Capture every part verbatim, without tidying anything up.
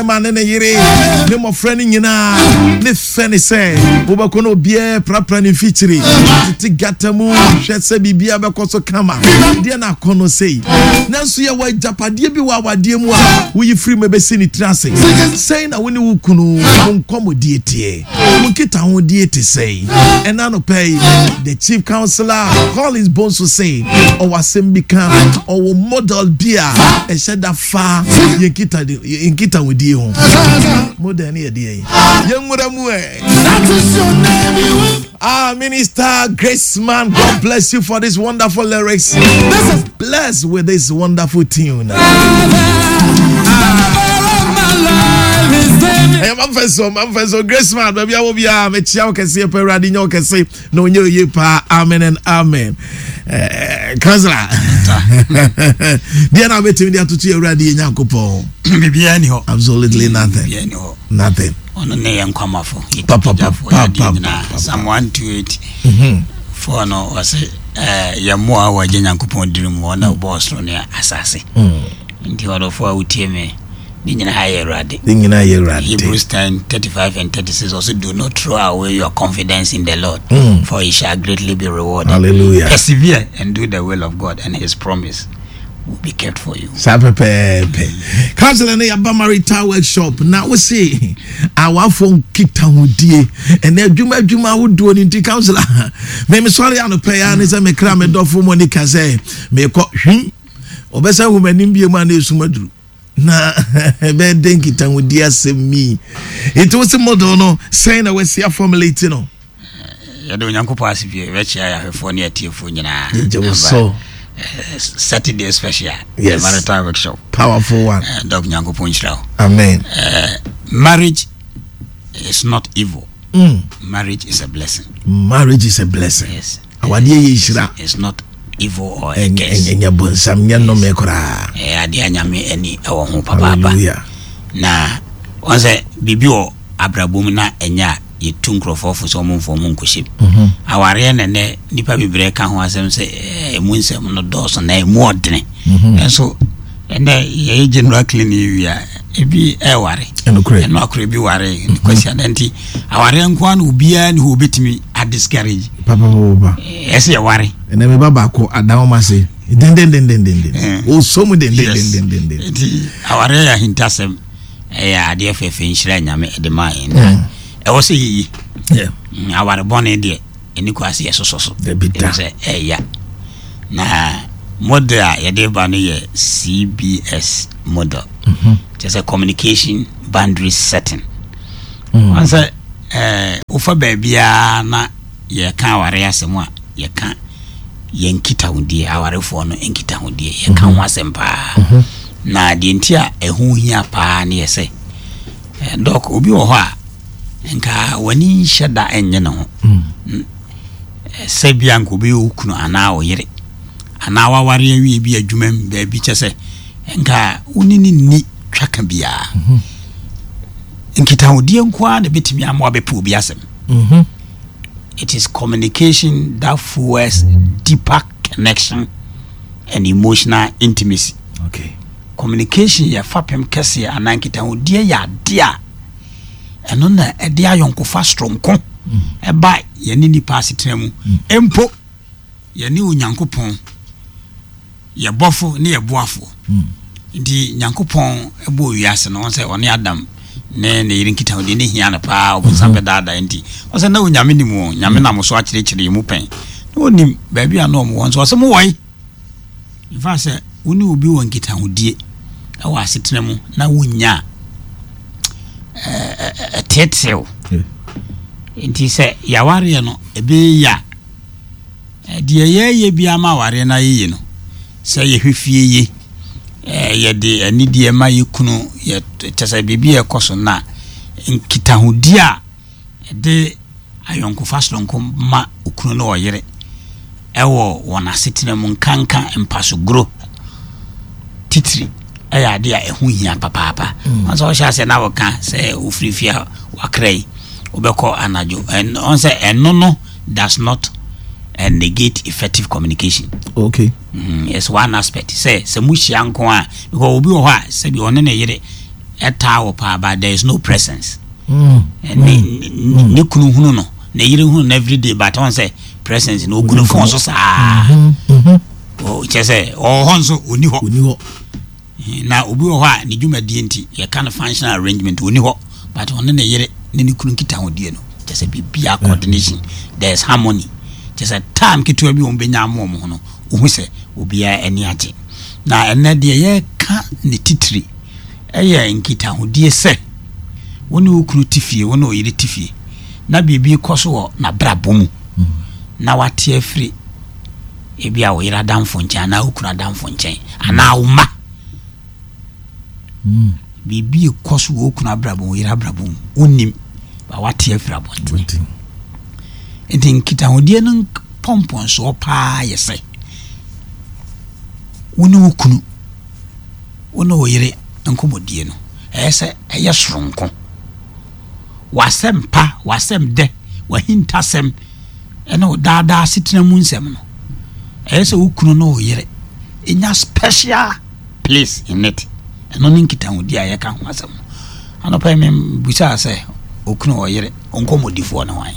Bɛrima ne ne yere ne mmɔfra no nyinaa ne fɛ ne sɛ wobɛkɔ no, obiara prapra ne mfikyiri tete gata mu hwɛ sɛ biribiara bɛkɔ so kama deɛ na akɔ no sei. Nanso yɛwɔ agyapadeɛ bi wɔ awadeɛ mu a woyi firi mu ɛbɛsi ne tiri ase. Sɛn na wo ne wo kunu mo nkɔmmɔdie teɛ? Mo nkitahodie te sɛn? Ɛna anɔpɛ yi, the Chief Counselor Collins Bonso sɛ ɔwɔ asɛm bi ka, ɔwɔ model bi a ɛhyɛ da fa yɛn kita yɛn nkitahodie ho. Model ne yɛ deɛ yi yɛnwura mu ɛ. That is your name. You will. Ah, Minister Grace Man, God bless you for these wonderful lyrics. This is Blessed with this wonderful tune. The lover of my life. His name Ɛyɛ mamfɛ so, mamfɛ so, Grace Man, baabi a wɔ biara, mekyia wo kɛseɛ pɛ. Awurade nyɛ wo kɛse na ɔnyɛ oye paa. Amen and amen. Eh, Counselor, deɛ na wobɛtumi de atoto yɛ Awurade yɛ Nyankopɔn? Biribiara ni hɔ. Absolutely nothing. Biribiara ni hɔ. Nothing. Ɔno ne yɛ nkwamafo. Pa, pa, pa, Yɛtipagyafoɔ, pa, yɛadeɛ pa, nyinaa. pa, pa. Psalm one two eight four no, ɔse eh, yɛ mmoa a wɔagye Nyankopɔn diri mu, ɔna ɔbɔɔ soro ne asase. Nti ɔdɔfoɔ a wotie me, ne nyinaa yɛ Awurade. Ne nyinaa yɛ Awurade. Hebrews ten thirty-five and thirty-six also, "Do not throw away your confidence in the Lord, for he shall greatly be rewarded." Hallelujah. Persevere and do the will of God, and his promise will be kept for you. Saa pɛpɛɛpɛ. Counselor, no yɛaba marital workshop na wo se awafoɔ nkitahodie ɛnɛ adwuma adwuma ahodoɔ no nti, counselor, memesɔre anɔpɛ ya ne sɛ mekra me dɔfo Monica sɛ mekɔ hwim, ɔbɛsɛ hu m'anim bie mu a na ɛsum aduru na ɛbɛyɛ dɛn nkitahodie asɛm mi? Nti wo se model no, sɛn na wasi aformulate no? Yɛde Onyankopɔn ase pie, yɛbɛkyia yɛahwɛfoɔ ne atiefoɔ nyinaa. Yɛgye wo Aba, so. eh, Saturday special, Yes. marital workshop. Powerful one. Eh, Doc, Nyankopɔn nhyira wo. Amen. Eh, marriage is not evil. mm. Marriage is a blessing. Marriage is a blessing. Yes. Awadeɛ yɛ nhyira. It's not evil or a ɛnyɛ curse. Ɛnyɛ bonsam, nyɛ nnome koraa. Ɛyɛ adeɛ a Nyame ani ɛwɔ ho papaapa. Hallelujah. Na wɔn sɛ biribi wɔ abrabɔ mu na ɛnyɛ a yɛtu nkurɔfoɔ fo sɛ ɔmo mfa ɔmo nkɔhyɛ mu. Awareɛ na nɛ nipa bebree ka ho asɛm sɛ ɛɛ, ɛmu nsɛm no dɔɔso na ɛmu ɔdene. Ɛnso ɛnɛ yɛyɛ general cleaning wie a, ebi ɛware. Ɛnokorɛ. Ɛno akora bi ware kwasi ada. Nti awareɛ nko ara na obiara ne hɔ obɛtumi adiscourage. Papapapa. Ɛsɛ yɛware. Ɛnɛ meba baako adan wɔn ase dendendendendenden. Eh. Osɔ mu Yes. dendendendenden. Nti awareɛ yɛ ahintasɛm, ɛyɛ adeɛ fɛfɛ, nhyira Nyame ɛde maa yɛn na ɛwɔ sɛ yɛyi. Yeah. Mm, aware bɔne deɛ, ɛni kɔ ase yɛsosɔ so. Dabi da. Ɛfiri sɛ ɛyɛ na model a yɛde ba no yɛ C B S model, kyerɛ sɛ communication, boundary setting. Wɔn sɛ ɛɛ wofa baabiara na yɛka aware asɛm a, yɛka yɛn nkitahodie, awarefoɔ no nkitahodie, yɛka ho asɛm paa. Na deɛ nti a ɛho hia paa ne yɛ sɛ eh, Doc, obi wɔ hɔ a nka w'ani nhyɛ da ɛnyɛ ne ho. Mm, eh, sɛ bia nka obi yɛ wo kunu anaa wo yere anaa waware awie bi adwuma mu baabi, kyɛ sɛ nka wo ne ne nni twaka biara, nkitahodie nko ara na ɛbɛtumi ama wabɛpɛ obi asɛm. It is communication that fuels deeper connection and emotional intimacy. Okay communication yɛ fapem kɛseɛ anaa nkitahodie yɛ adeɛ a ɛno na ɛde ayɔnkofa soronko ɛba yɛne nipa asetena mu, mpo yɛne Onyankopɔn, yɛbɔfo ne yɛboafoɔ. Nti Nyankopɔn ɛbɔ wiase no, wɔn sɛ ɔne Adam ne ne yere nkitahodie ne hia no paa. Ɔbonsam bɛdaadaa nti ɔsɛ na Onyame nim wɔn, Nyame nam so akyerɛkyerɛ yɛ mu pɛn na ɔnim baabi a na ɔmo wɔ nso ɔsɛ mo wɔe. In fact, sɛ wo ne obi wɔ nkitahodie ɛwɔ asetena mu na wonya a, ɛteetew. Nti sɛ yɛawareɛ no ɛbɛyɛ a, deɛ yɛyɛ bi ama awareɛ no ayɛyie no, sɛ yɛhwɛ fie ye, yɛde anidie ma yɛ kunu, yɛ kyɛ sɛ biribi a ɛkɔ so na nkitahodie a ɛde ayɔnkofa soronko ma okunu ne ɔyere ɛwɔ wɔn asetena mu, nkanka mpasogoro titiri, ɛyɛ adeɛ a ɛho hia papaapa. Wɔn sɛ ɔhyɛ ase na wɔka sɛ ofiri fie a wakra yi, wobɛkɔ anadwo, ɔn sɛ ɛno no does not uh, negate effective communication. okay mm, it's one aspect sɛ sɛ mo hyia nko a, because obi wɔ hɔ a sɛbi ɔne ne yere Ɛtaa wɔ paa, but there is no presence. Mm. Ne ne ne kunu hunu no, ne yere hunu no everyday, but ɔn sɛ presence no, ogu ne phone so saa. Mhm. Ɔ- kyerɛ sɛ ɔwɔ hɔ nso ɔni hɔ. Ɔni hɔ. Na obi wɔ hɔ a ne dwumadie nti, yɛka no functional arrangement, ɔni hɔ, but ɔne ne yere ne ne kunu nkitahodie no, kyerɛ sɛ biribia coordination, there is harmony. Kyerɛ sɛ time ketewa bi wɔn bɛnya ama wɔn ho no, wohu sɛ obiara ani agye. Na ɛnɛ deɛ yɛka ne titiri ɛyɛ nkitahodie sɛ wo ne wo kunu te fie, wo ne wo yere te fie, na biribi kɔ so wɔ n'abrabɔ mu na wate afiri ebi a wo yere adamfo nkyɛn anaa wo kunu adamfo nkyɛn anaa wo mma. Mm. Biribi kɔ so wɔ wo kunu abrabɔ mu, wo yere abrabɔ mu, wonnim ba wate afiri abɔnten. Nti. Nti nkitahodie no nk- pɔmpɔnsoɔ paa yɛ sɛ wo ne wo kunu, wo ne wo yere nkɔmmɔdie no, ɛyɛ sɛ ɛyɛ soronko. W'asɛm pa, w'asɛm dɛ, w'ahintasɛm ɛne wo daadaa asetena mu nsɛm no, ɛyɛ sɛ wo kunu ne wo yere ɛnya special place in it. Ɛno ne nkitahodie a yɛka ho asɛm no. Anɔpa yi membusaa sɛ okunu, ɔyere nkɔmmɔdifoɔ ne hwan?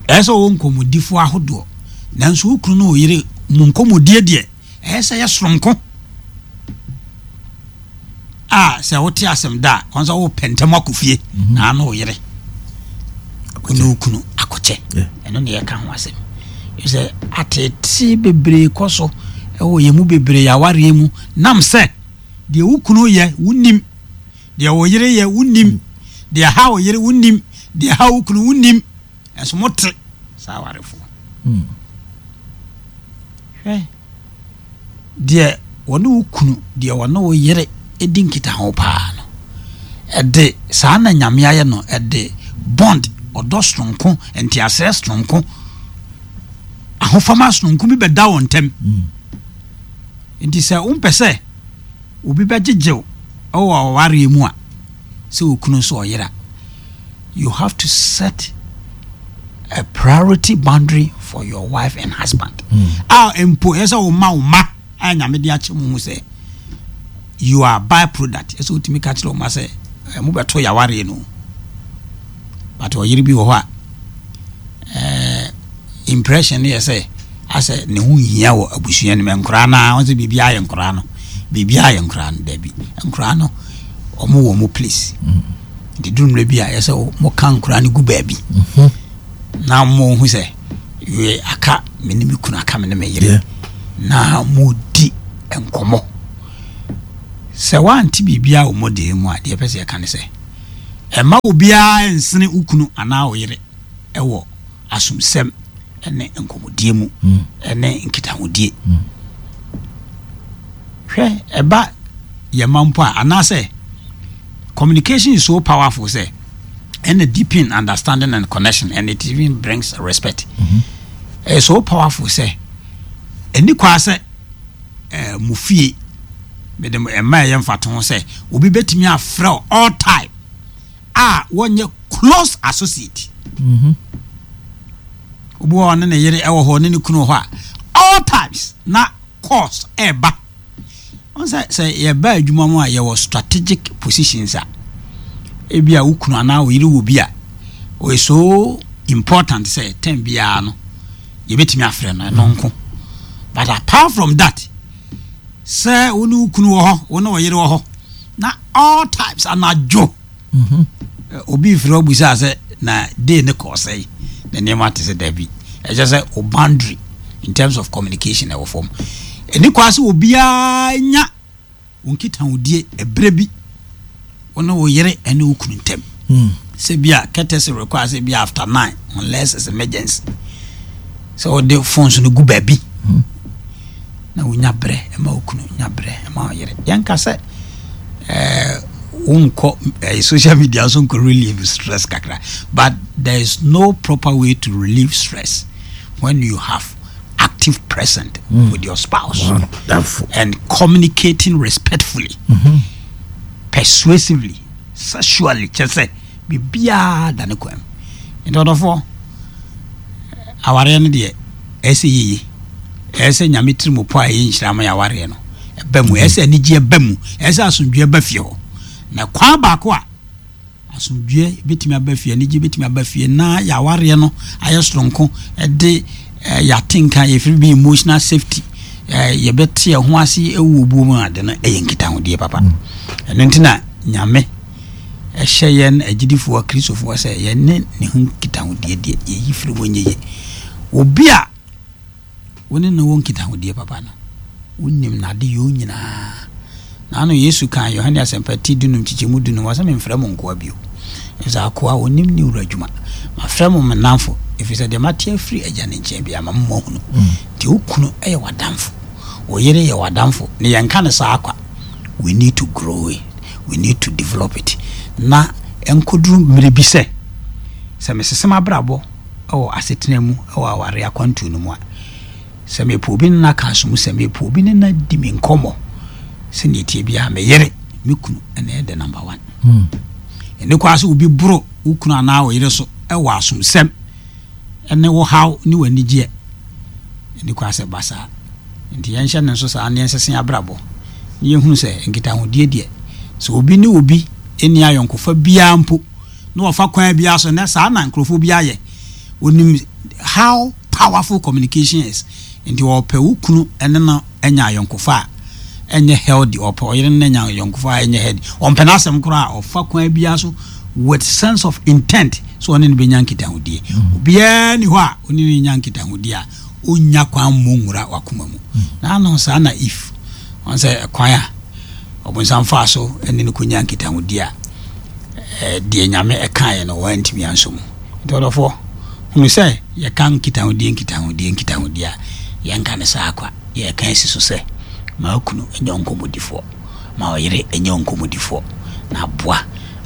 Ɛyɛ sɛ ɔwɔ nkɔmmɔdifoɔ ahodoɔ, nanso wo kunu ne wo yere mu nkɔmmɔdie deɛ, ɛyɛ sɛ yɛ soronko a sɛ wote asɛm da a, ɔn sɛ wopɛ ntɛm akɔ fie na ano wo yere, wo ne wo kunu akɔkyɛ. Yeah. Ɛno ne yɛka ho asɛm sɛ atete bebree kɔ so ɛwɔ yɛn mu bebree awareɛ mu nam sɛ deɛ wo kunu yɛ wonim, deɛ wo yere yɛ wonim, deɛ ha wo yere wonim, deɛ ha wo kunu wonim, ɛnso mote saa awarefoɔ. Mm. Hwɛ, deɛ wɔne wo kunu, deɛ wɔne wo yere di nkitaho paa no, ɛde saa na Nyame ayɛ no, ɛde bond, ɔdɔ soronko, nteaseɛ soronko, ahofama soronko bi bɛda wɔn ntam. Mm. Nti sɛ wompɛ sɛ obi bɛgyegyew ɛwɔ awareɛ mu a, sɛ wo kunu nso ɔyere a, you have to set a priority boundary for your wife and husband. Mm. A mpo ɛyɛ sɛ wo ma wo ma a Nyame de akyɛ mu hu sɛ you are by product. Ɛsɛ wotumi ka kyerɛ wo ma sɛ eh, mobɛto yɛawareɛ no, but ɔyere bi wɔ hɔ a eh, impression no yɛ sɛ asɛ ne ho nhia wɔ abusua no mu. Nkoraa no a wɔn sɛ biribiara yɛ nkoraa no, biribiara yɛ nkoraa no. Dabi, nkoraa no, ɔmo wɔ mo place. Nti duru mmerɛ bi a yɛ sɛ moka nkoraa no gu baabi Mhm. na mo hu sɛ yɛ aka me ne me kunu, aka me ne me yere Yeah. na modi nkɔmmɔ. Sɛ woante biribiara wɔ mmɔden mu a, deɛ ɛpɛ sɛ yɛka ne sɛ ɛma obiara nsene wo kunu anaa wo yere ɛwɔ asomsɛm ne nkɔmmɔdie mu Mm. ɛne nkitahodie. Mm. Hwɛ, ɛba yɛma mpo a, anaasɛ communication is so powerful sɛ ɛna deepen understanding and connection, and it even brings respect. Mhm. Ɛyɛ so powerful sɛ ɛni kwaa sɛ ɛɛ mo fie mede mo ɛma ɛyɛ mfato ho sɛ obi bɛtumi afrɛ wo all time a wɔnyɛ close associate. Mhm. Obi wɔ hɔ ne ne yere ɛwɔ hɔ, ne ne kunu wɔ hɔ a, all times na calls ɛɛba. Wɔn sɛ sɛ yɛba adwuma mu a, yɛwɔ strategic positions a ebi a wo kunu anaa wo yere wɔ bi a ɔyɛ so important sɛ time biara no yɛbɛtumi afrɛ no, ɛno nko. But apart from that, sɛ wo ne wo kunu wɔ hɔ, wo ne wo yere wɔ hɔ na all times anadwo Mhm. eh, obi firi ɔbusa sɛ na day ne kɔɔ sɛe na nneɛma te sɛ, dabi, ɛkyɛ sɛ o boundary in terms of communication ɛwɔ fam. Ɛni kwa sɛ obiara nya wo nkitahodie ɛberɛ bi wo ne wo yere ɛne wo kunu ntam Mm. sɛ bi a courtesy require sɛ bi after nine, unless it's emergency, sɛ wɔde phones no gu baabi na wonya berɛ ɛma wo kunu, nya berɛ ɛma wo yere. Yɛnka sɛ ɛɛ wonkɔ ɛɛ social media so nkɔ relieve stress kakra, but there is no proper way to relieve stress when you have active present mm. with your spouse Wonderful. and communicating respectfully, mm-hmm. persuasively, sexually, kyerɛ sɛ biribiara da ne kwan mu. Nti ɔdɔfoɔ, awareɛ no deɛ, ɛyɛ sɛ yeye, ɛyɛ sɛ Nyame tiri mu po a ɛyɛ nhyira ma yɛ awareɛ no. Ɛba mu, ɛyɛ sɛ anigyeɛ ba mu, ɛyɛ sɛ asomdwoeɛ ba fie hɔ. Na kwan baako a asomdwoeɛ bɛtumi aba fie, anigyeɛ bɛtumi aba fie na yɛawareɛ no ayɛ soronko, ɛde yɛatenka, yɛfiri bi emotional safety, yɛbɛte yɛn ho ase ɛwɔ obuo mu ade no, ɛyɛ nkitahodie papa. Ɛno nti na Nyame ɛhyɛ yɛn agyidifoɔ Kristofoɔ sɛ yɛne ne ho nkitahodie deɛ yɛyi firi mu nyɛ yie. Obi a wo ne no wɔ nkitahodie papa no, wonim n'ade yɛ nyinaa. Na ano Yesu kaa Yohane Asɛmpa ti dunum kyekyɛmu dunum, wɔ sɛ memfrɛ mo nkoa bio, ɛfiri sɛ akoa ɔnim ne wura adwuma. Mafrɛ mo me namfo, ɛfiri sɛ deɛ mate afiri Agya ne nkyɛn bia ma mo ahunu. Nti wo kunu ɛyɛ w'adamfo, wo yere yɛ w'adamfo, ne yɛnka ne saa kwa. We need to grow it, we need to develop it, na ɛnkɔduru mmerɛ bi sɛ sɛ mesesem abrabɔ ɛwɔ asetena mu, ɛwɔ aware akwantuo no mu a, sɛ mepɛ obi ne na ka so mu, sɛ mepɛ obi ne na di me nkɔmmɔ sɛnea ɛtie biara, me yere, me kunu ɛna ɛyɛ the number one. Ɛne kɔ sɛ obi boro wo kunu anaa wo yere so ɛwɔ asomsɛm ɛne wo haw ne w'anigyeɛ, ɛne kɔ sɛ ba saa. Nti yɛnhyɛ ne nso saa ne yɛnsese abrabɔ ne yɛhunu sɛ nkitahodie deɛ, sɛ obi ne obi ɛni ayɔnkofa biara mpo na wɔfa kwan biara so na saa na nkurɔfoɔ bi ayɛ, onim how powerful communication is. Nti wɔpɛ wo kunu ɛne no anya ayɔnkofa a ɛnyɛ healthy, ɔpɛ ɔyere no anya ayɔnkofa a ɛnyɛ healthy, ɔmpɛ n'asɛm koraa a, ɔfa kwan biara so with sense of intent so ɔne no bɛnya nkitahodie. Obiara ni hɔ a ɔne no nya nkitahodie a ɔnya kwan mmɔ nwura wakoma mu. Na ano saa na if ɔn sɛ kwan a ɔbonsam faa so ɛne no kɔnya nkitahodie a, deɛ Nyame ɛkaeɛ no wɔantumi anso mu. Nti ɔdɔfoɔ, hunu sɛ yɛka nkitahodie, nkitahodie, nkitahodie a, yɛnka ne saa kwa. Yɛka asi so sɛ ma kunu ɛnyɛ nkɔmmɔdifoɔ, ma ɔyere ɛnyɛ nkɔmmɔdifoɔ, na aboa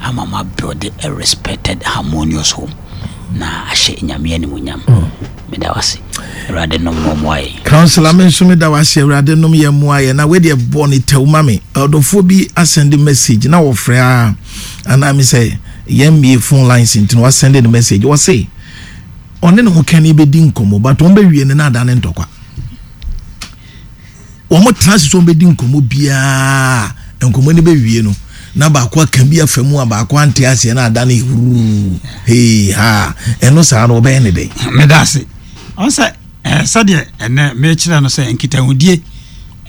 ama ma build a respected, harmonious home na ahyɛ Nyame animuonyam. Meda wase. Awurade nom na ɔmmoa yɛn. Councillor, me nso meda wase. Awurade nom yɛ mmoa yɛ. Na wedeɛ bɔ ne tɛw ma me. Ɔdɔfoɔ bi asend message na wɔfrɛ a anaa me sɛ yɛn mmie phone lines, nti na wasend ne message. Wɔse ɔne ne ho kɛne bɛdi nkɔmmɔ, but wɔn bɛwie no na ada ne ntɔkwa. Wɔn tena ase sɛ wɔn bɛdi nkɔmmɔ biara, nkɔmmɔ no bɛwie no na baako aka bi afa mu a baako ante aseɛ na ada ne huruu hei ha. Ɛno saa no, wɔbɛyɛ ne dɛn? Meda ase. Ɔn sɛ ɛɛ sɛdeɛ ɛnɛ mekyerɛ no sɛ nkitahodie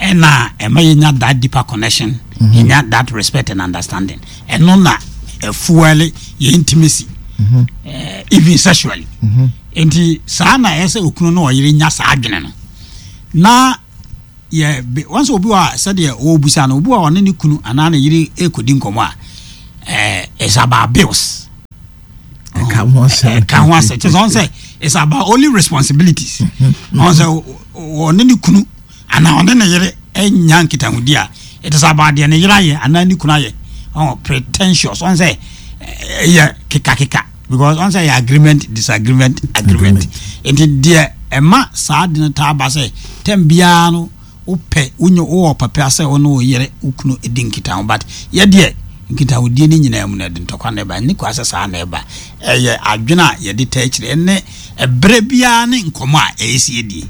ɛna ɛma yɛnya that deeper connection, yɛnya that respect and understanding. Ɛno na ɛfuel yɛ intimacy, ɛɛ even sexually. Nti saa na ɛyɛ sɛ okunu no ɔyere nya saa adwene no na yɛ wɔn sɛ obi wɔ a, sɛdeɛ ɔrebusa no, obi wɔ a ɔne ne kunu anaa ne yere ekodi nkɔmɔ a, ɛɛ it's about bills. Ɛka ho asɛm. Ɛka ho asɛm kyerɛ sɛ ɔn sɛ it's about only responsibilities. Ɔn sɛ ɔne ne kunu anaa ɔne ne yere ɛnya nkitahodi a, it is about deɛ ne yere ayɛ anaa ne kunu ayɛ. Ɔn pretentious, ɔn sɛ ɛyɛ kekakeka because ɔn sɛ ɛyɛ agreement, disagreement, agreement. Nti deɛ ɛma saa de no taa ba sɛ tɛm biara no, wopɛ wonyɛ wowɔ pɛpɛ sɛ wo ne wo yere, wo kunu di nkitaho, but yɛdeɛ nkitahodie no nyinaa mu no, ɛde ntɔkwa na ɛba. Ne kwa sɛ saa na ɛba, ɛyɛ adwene a yɛde ta akyire ne ɛberɛ biara ne nkɔmmɔ a ɛyɛ sie die.